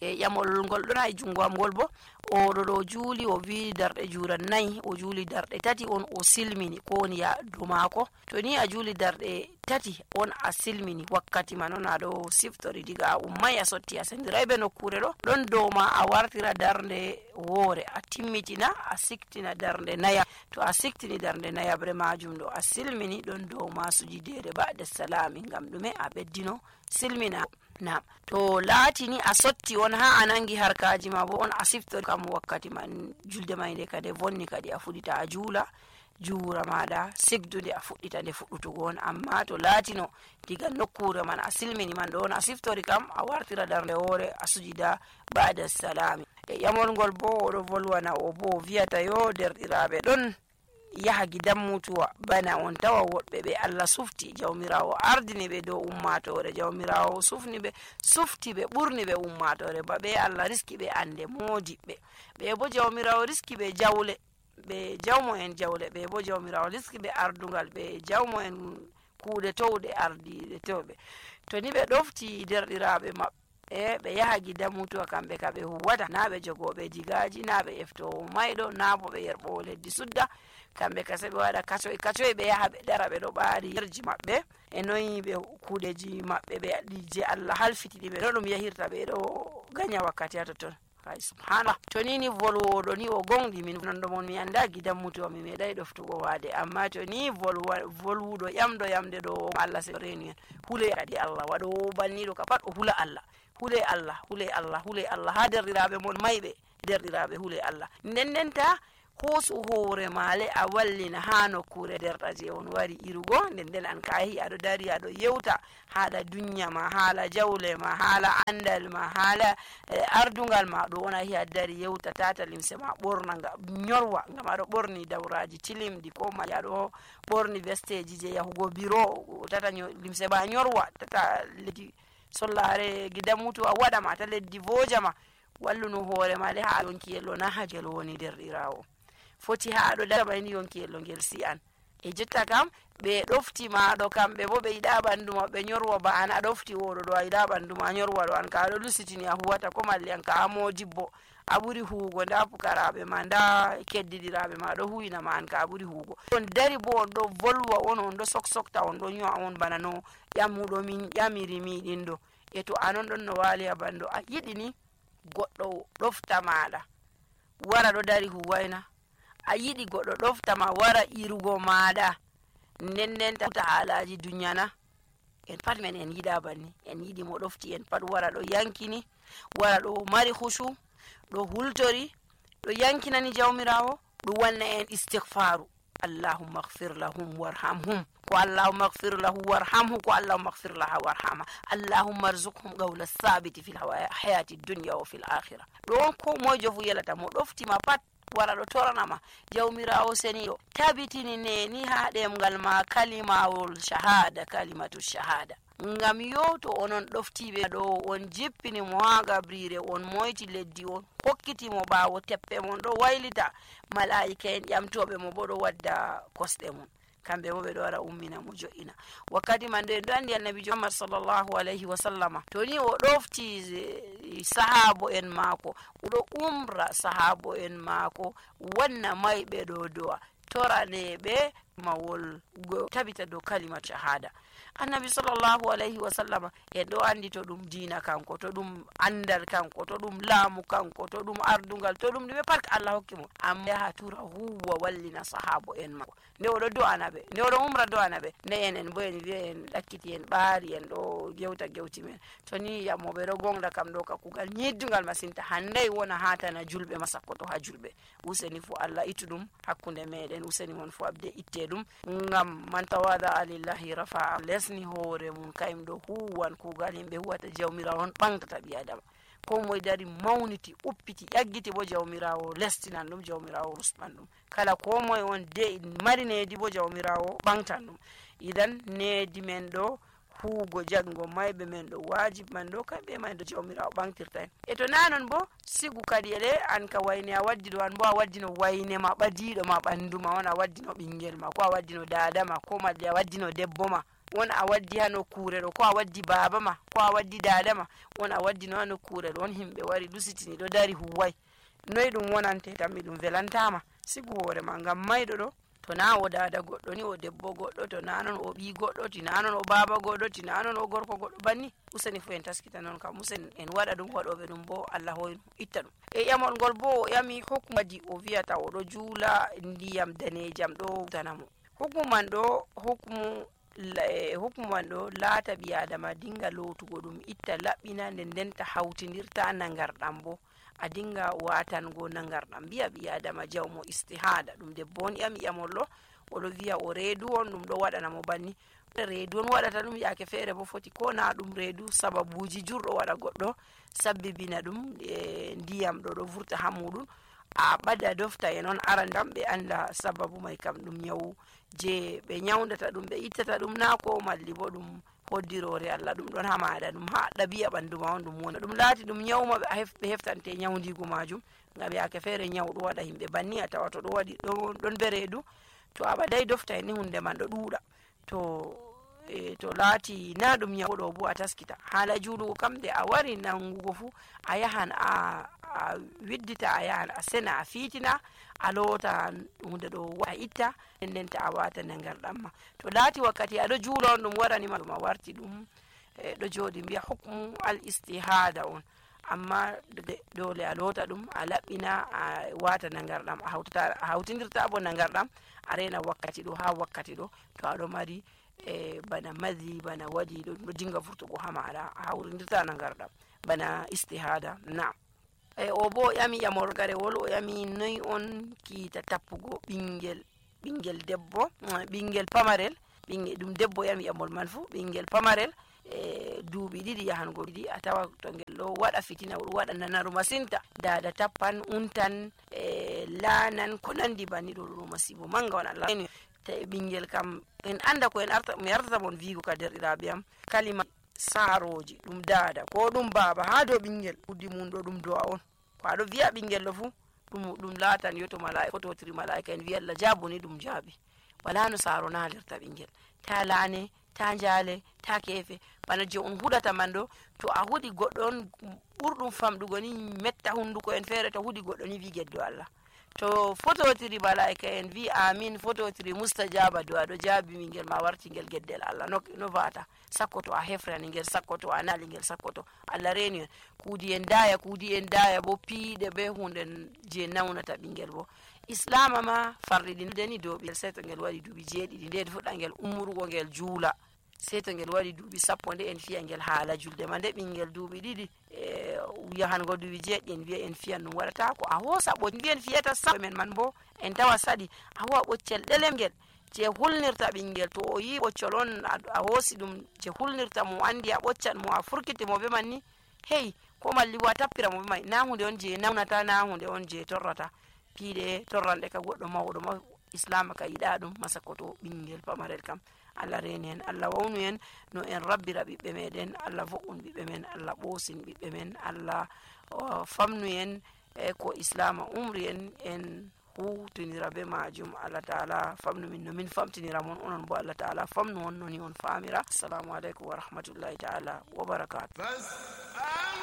e ƴamol ngol ɗon e jungo am ngol bo oɗo juuli o wi darɗe jura 4 o juuli darɗe 3 on o silmini ko woni yaadu maako. To ni a juuli darɗe 3 on a silmini wakkati man on aɗo siftori diga a ummai a sotti a sendirai be nokkure ɗon dow ma a wartira darnde woore a timmitina a siktina darnde naya. To a siktini darnde nayabre majum ɗo a silmini ɗon dow ma sujudere ba'da salami ngam ɗume a ɓeddino silmina. Na to laatini a sotti on ha a nangi harkaji ma bo on a siftori kam wakkati man julde mai nde kade vonni kadi a fuɗita a juula juura maɗa sigdude a fuɗɗita nde fuɗɗutugo on. Amma to laatino diga nokkure man a silmini man ɗo on a siftori kam a wartira darnde woore a sujida ba'da salami. E ƴamol ngol bo oɗo volwana o bo wiyata yo derɗiraɓe ɗon yaha gidan mutuwa bana on tawa woɓɓe ɓe Allah sufti jawmirawo ardini ɓe dow ummatore jawmirawo sufti ɓe ɓurni ɓe ummatore ba ɓe Allah riski ɓe ande modiɓɓe ɓe bo jawmirawo riski ɓe jawle ɓe jawmo en jawle ɓe bo jawmirawo riski ɓe ardungal ɓe jawmo en kuuɗe towɗe ardiɗe towɓe. To ni ɓe ɗofti derɗiraɓe maɓɓe ɓe yaha gidan mutuwa kamɓe ka ɓe huwata na ɓe jogoɓe digaji na ɓe eftowo mayɗo na bo ɓe yerɓowo leddi sudda kamɓe ka se ɓe waɗa kacoy ɓe yaha ɓe dara ɓe ɗo ɓaari yerji maɓɓe e noyi ɓe kuuɗeji maɓɓe ɓe je Allah halfitini ɓe no ɗum yahirta ɓe ɗo ganya wakkati ha totton. Subhanallah to ni volwoɗo ni o gonɗi min nondo mon mi anda gidan mutuwa mi meɗai ɗoftugo waade amma to ni volwuɗo ƴamɗo yamde ɗo Allah se reni en hule kadi Allah waɗo banniɗo ka pat o hula Allah hule Allah ha derɗiraɓe mon mayɓe derɗiraɓe hule Allah ndendenta hoosu hoore maale a wallina ha nokkure derɗa je on wari irugo nden an kahi aɗo dari aɗo yewta haala dunya ma haala jawle ma haala andal ma haala ardungal ma ɗo on ahi a dari yewta tata limse ma ɓorna nga nyorwa ngam aɗo ɓorni dawraji tilimɗi ko ma aɗo ɓorni vesteji je yahugo biro tata limse ma nyorwa tata leddi sollare gidan mutu a waɗama ta leddi vojama walluno hoore ma le ha yonkiyello na hajel woni derɗirawo foti ha aɗo daɓani yonkiyello ngel si'an e jotta kam ɓe ɗofti maɗo kamɓe bo ɓe yiɗa ɓandu maɓɓe nyorwa ba an a ɗofti oɗo ɗo a yiɗa ɓandu ma nyorwa ɗo an ka aɗo lusitini a huwata ko malli an ka a modibbo a ɓuri huugo nda pukaraɓe ma nda keddiɗiraɓe ma ɗo huwina ma an ka a ɓuri huugo on dari bo on ɗo volwa on ɗo soksokta on ɗo nyo'a on bana no ƴammuɗo min ƴamiri miɗin ɗo e to anon ɗon no waali ha bandu a yiɗi ni goɗɗo ɗofta maɗa wara ɗo dari huwayna a yiɗi goɗɗo ɗoftama wara irugo maɗa nden ta haalaji dunyana en pat men en yiɗa banni en yiɗi mo ɗofti en pat wara ɗo yankini wara ɗo mari hushu ɗo hultori ɗo yankinani jawmirawo ɗo wanna en istighfaru allahumma ighfir lahum warhamhum ko allahumma ighfir lahu warhamhu ko allahumma ighfir laha warhama allahumma arzuqhum qawla thabiti fil hayati dunya wa fil akhirah ɗo ko mojo fu yelata mo ɗoftima pat wara ɗo toranama jawmirawo seniɗo tabitini ni ha ɗemgal ma kalimawol shahada kalimatu shahada ngam yo to onon ɗoftiɓe ɗo on jippinimo ha gabrire on moyti leddi on hokkitimo ɓawo teppe mon ɗo waylita malaika en ƴamtoɓe mo bo ɗo wadda kosɗe mum kamɓe bo ɓe ɗo wara ummina mo jo'ina wakkati man ɗo en ɗo andi annabijo Muhammad sallllahu alayhi wa sallama to ni o ɗofti sahabo en maako oɗo umra sahabo en maako wanna mayɓe ɗo do'a toraneɓe mawol tabita dow kalima shahada annabi sallllahu alayhi wa sallama en ɗo andi to ɗum dina kanko to ɗum andal kanko to ɗum laamu kanko to ɗum ardungal to ɗum ɗume pat Allah hokki mo amma yaha tura huwa wallina sahabo en mako nde oɗo do'ana ɓe nde oɗo umra do'ana ɓe nde enen bo en wiya en ɗakkiti en ɓaari en ɗo gewti men to ni yamoɓe ɗo gonɗa kam ɗo ka kugal ñiddungal masinta handay wona hatana julɓe masakkoto ha julɓe useni fu Allah itu ɗum hakkunde meɗen useni mon fu abde itte ɗum ngam man tawada lillahi rafa lesni hoore mum kayum ɗo huwan kugal yimɓe huwata jawmirawo on ɓantata ɓi adama ko moye dari mawniti uppiti ƴaggiti bo jawmirawo lestinan ɗum jawmirawo rusɓan ɗum kala ko moye on de mari needi bo jawmirawo ɓantan ɗum idan needi men ɗo huugo jaggo mayɓe men ɗo wajib man ɗo kamɓe man ɗo jawmirawo ɓantirta en e to nanon bo sigu kadi ele an ka wayne a waddi ɗo an bo a waddino wayne ma ɓadiɗo ma ɓandu ma on a waddino ɓingel ma ko a waddino dada ma ko malli a waddino debbo ma won a waddi ha nokkure ɗo, ko a waddi baba ma ko a waddi dada ma, won a waddi no ha nokkure ɗo, won himɓe wari lusitini ɗo dari huwai, noyi ɗum wonante? Tammi ɗum velantama. Sigu hoore ma, ngam mayɗo ɗo to na o dada goɗɗo ni, o debbo goɗɗo, to na non o ɓi goɗɗo, tina non o baba goɗɗo, tina non o gorko goɗɗo, banni useni fu en taskita non kam, usen en waɗa ɗum, waɗoɓe ɗum bo Allah hoynu itta ɗum. E ƴamol ngol bo o ƴami hukmadi o wiyata oɗo juula ndiyam danejam ɗo tanamo. Hukmuman ɗo laata ɓi adama dinga lotugo ɗum, itta laɓɓina, nden denta hawtinirta nangarɗam bo a dinga watango nangarɗam. Biya ɓi adama jawmo istihada, ɗum debbo on ƴami ƴamol ɗo, oɗo wiya o reedu on, ɗum ɗo waɗana mo banni. Reedu on waɗata ɗum, yake feere bo foti ko na ɗum reedu, sababuji jurɗo waɗa goɗɗo sabbibina ɗum ndiyam ɗo vurta ha muɗum. A ɓada dofta e noon aran kam ɓe anda sababu mai kam ɗum nyawu je ɓe nyawdata ɗum, ɓe ittata ɗum na, ko malli bo ɗum hoddirore Allah, ɗum ɗon ha maɗa, ɗum ha ɗabi'a ɓandu ma on ɗum woni. Ɗum laati ɗum nyawma ɓe heftante nyawdigu majum, ngam yake feere nyawɗo waɗa himɓe banni, a tawa to ɗo waɗi ɗon be reedu, to a ɓadai dofta ni hunde man ɗo ɗuuɗa, to laati na ɗum nyawɗo bo a taskita. Haala juulugo kam de a wari nangugo fu, a yahan a widdita, a yahan a sena, a fiitina, a loota hunde ɗo a itta, ndenta a wata nangarɗam ma. To laati wakkati aɗo juula on ɗum waɗanima ɗum, a warti ɗum ɗo jooɗi mbiya hukmu al istihada on, amma dole a loota ɗum, a laɓɓina, a wata nangarɗam, a hawtinirta bo nangarɗam, a rena wakkati ɗo ha wakkati ɗo, to aɗo mari bana mazi, bana waɗi ɗo dinga vurtugo ha maɗa, a hawtinirta nangarɗam bana istihada. Na o bo ƴami ƴamol garewol, o ƴami noyi on kiita tappugo ɓingel debbo, ɓingel pamarel, ɗum debbo ƴami ƴamol man fu, ɓingel pamarel duuɓi ɗiɗi yahango ɗiɗi, a tawa to ngel ɗo waɗa fitina, o waɗa nanaru masinta, dada tappan, untan, laanan, ko nandi banni ɗo masibo manga on. Allah ɓingel kam en anda ko mi artata mon vigo ka derɗiraɓe am, kalima saaroji ɗum dada ko ɗum baba ha dow ɓingel, ɓuddi mum ɗo ɗum do'a on, ko aɗo wiya ɓingel ɗo fu ɗum laatan yo to malaika, fototiri malaika en wiya Allah jabuni, ɗum jaabi. Wala no saaro nalirta ɓingel, ta laane, ta jaale, ta keefe, bana je on huɗata man ɗo, to a huɗi goɗɗo on ɓurɗum famɗugo ni metta hunduko en feere, to huɗi goɗɗo ni wi geddo Allah, to fototiri malaika en vi amin, fototiri mustajaba, do aɗo jaabi ɓingel ma warti ngel geddel Allah, no vata sakko to a hefrani ngel, sakko to a nali ngel, sakko to Allah reni en. Kuudi en daya bo piiɗe be hunde je naunata ɓingel bo. Islama ma farɗiɗini dow ɓingel sai to ngel waɗi duuɓi 7, nde fuɗɗa ngel umrugo ngel juula, sai to ngel waɗi duuɓi 10 nde en fiya ngel haala julde ma. Nde ɓingel duuɓi 2 yahango duuɓi 7 en wiya en fiyan ɗum waɗata ko a hoosa mbiyen fiyata sa men man bo en tawa saɗi a huwa ɓoccel ɗelengel je hulnirta ɓingel, to o yi ɓoccol on a hoosi ɗum je hulnirta mo, andi a ɓoccan mo, a furkiti mo be man ni, hey, ko malli bo a tappira mo be mai, na hunde on je naunata, na hunde on je torrata. Piiɗe torranɗe ka goɗɗo mawɗo ma, Islama ka yiɗa ɗum masakoto ɓingel pamarel kam. Allah reni en, Allah wawnu en no en rabbira ɓiɓɓe meɗen, Allah vo'un ɓiɓɓe men, Allah ɓosin ɓiɓɓe men, Allah famnu en ko Islama umri en hutinira be majum. Allah ta'ala famnu min no min famtinira mon, onon bo Allah ta'ala famnu on noni on famira. Assalamu alaikum wa rahmatullahi ta'ala wa barakatuh.